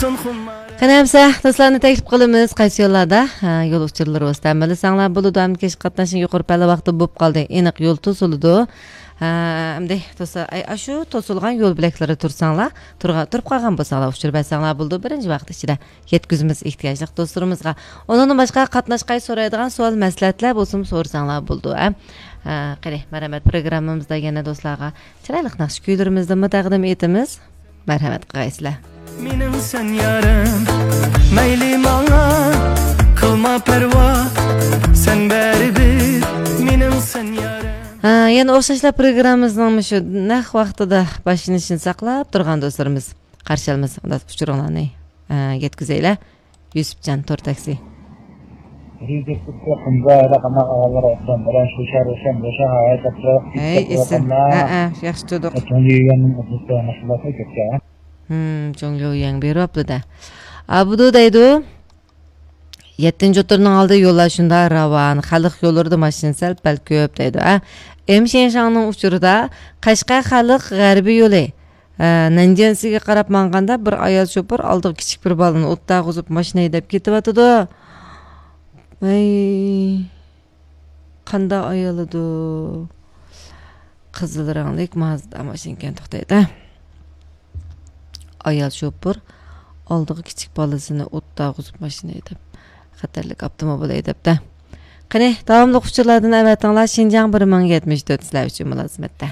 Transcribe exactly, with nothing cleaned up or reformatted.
قېنى ئەمسە دوستلارنى تەكلىپ قىلىمىز، قايسى يوللاردا، ھە، يول ئۇچۇرلىرى ۋاسىتە ئەمەللىسەڭلار بولىدۇ. ئەمدى كەچكە قاتناشنىڭ يۇقىرى پەللە ۋاقتى بولۇپ قالدى. ئېنىق يول توسۇلىدۇ. ھە، ئەمدى توسا-، ئەي، ئاشۇ توسۇلغان يول بۆلەكلىرىدە تۇرساڭلار، تۇرغا-، تۇرۇپ قالغان بولساڭلار، ئۇچۇر بەرسەڭلار بولىدۇ. بىرىنچى ۋاقىت ئىچىدە يەتكۈزىمىز ئېھتىياجلىق دوستلىرىمىزغا. ئۇنىڭدىن باشقا قاتناشقاي سورايدىغان سوئال مەسلىھەتلەر بولسىمۇ سورىساڭلار بولىدۇ، ھە. ھە، قېنى، مەرھەمەت، پروگراممىمىزدا يەنە دوستلارغا چىرايلىق ناخشا كۈيلىرىمىزنىمۇ تەقدىم ئېتىمىز. مەرھەمەت قىلغايسىلەر. مېنىڭسەن يارىم، مەيلى ماڭا، قىلما پەرۋا، سەن بەرىبىر مېنىڭسەن يارىم. ھە، يەنە ئوخشاشلا پروگراممىمىزنىڭ مۇشۇ نەق ۋاقتىدا باشلىنىشىنى ساقلاپ تۇرغان دوستلىرىمىز، قارشى ئالىمىز، ئۇچۇرۇڭلارنى، ھە، يەتكۈزەيلى. يۈسۈپجان تور تاكسى. ھەي، ئېسىل. ھە، ھە، ياخشى تۇردۇق. ھىم، جۇڭليۇ يەڭ بېرىۋاپتۇ-دە. ئابدۇ دەيدۇ، يەتتىنچى ئوتتۇرىنىڭ ئالدى يوللار شۇنداق راۋان، خەلق يوللىرىدا ماشىنا سەل پەل كۆپ دەيدۇ، ھە. ئېم شيەنشاڭنىڭ ئۇچۇرىدا قەشقەر خەلق غەربىي يولى، ھە، نەنجيەنسىگە قاراپ ماڭغاندا بىر ئايال شوپۇر ئالدىغا كىچىك بىر بالىنى ئوتتۇرغۇزۇپ ماشىنا ھەيدەپ كېتىۋاتىدۇ. ۋەي. قانداق ئايالىدۇ؟ قىزىل رەڭلىك مازدا ماشىنىكەن، توختايدۇ. ئايال شوپۇر ئالدىغا كىچىك بالىسىنى ئوتتۇرغۇزۇپ ماشىنا ھەيدەپ، خەتەرلىك ئاپتوموبىل ھەيدەپتۇ. قېنى، داۋاملىق ئۇچۇرلاردىن ئەۋەتىڭلار. شىنجاڭ بىر مىڭ يەتمىش تۆت سىلەر ئۈچۈن مۇلازىمەتتە.